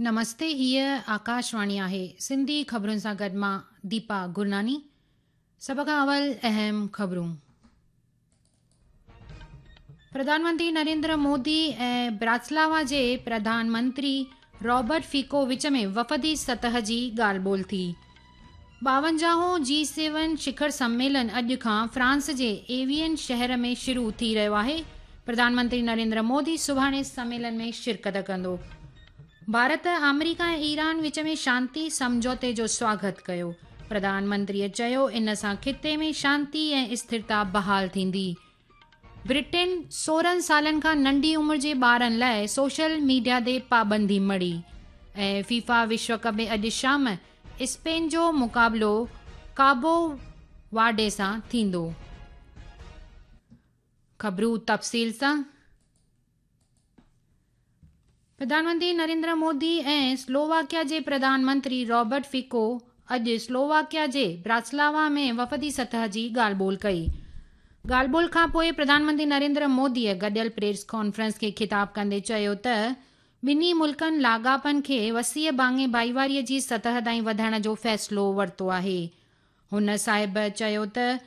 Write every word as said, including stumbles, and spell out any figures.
نمستي، هيءَ آڪاشواڻي آهي. سنڌي خبرن سان گڏ مان ديپا گرناني. سڀ کان اول اهم خبرون. پرڌان منتري نريندر مودي ۽ براتسلاوا جي پرڌان منتري رابرٽ فيڪو وچ ۾ وفدي سطح جي ڳالهه ٻولهه ٿي. ٻاونجاهون جي سيون شکر سميلن اڄ کان فرانس جي ايوين شهر ۾ شروع ٿي رهيو آهي. پرڌان منتري نريندر مودي سڀاڻي سميلن ۾ شرڪت ڪندو. ڀارت آمريڪا ۽ ايران وچ ۾ شانتي سمجهوتي جو سواگت ڪيو. پرڌان منتريء چيو ان سان خطي ۾ شانتي ۽ اسٿرتا بحال ٿيندي. برٽن سورهن سالن کان ننڍي عمر جي ٻارن لاءِ سوشل ميڊيا تي پابندي مڙهي. ۽ فيفا وشو ڪپ ۾ اڄ شام اسپين جو مقابلو ڪابو ورڊي سان ٿيندو. خبرون تفصيل سان. پرڌان منتري نريندر مودي ۽ سلوواڪيا جي پرڌان منتري رابرٽ فيڪو اڄ سلوواڪيا جي براتسلاوا ۾ وفدي سطح جي ڳالهه ٻولهه ڪئي. ڳالهه ٻولهه کان پوءِ پرڌان منتري نريندر موديءَ گڏيل پريس ڪانفرنس کي خطاب ڪندي چيو ته ٻنهي ملڪن لاڳاپن کي وسيع ڀاڱي ڀائيواريءَ جي سطح تائين وڌائڻ جو فيصلو ورتو آهي. هن صاحب چيو ته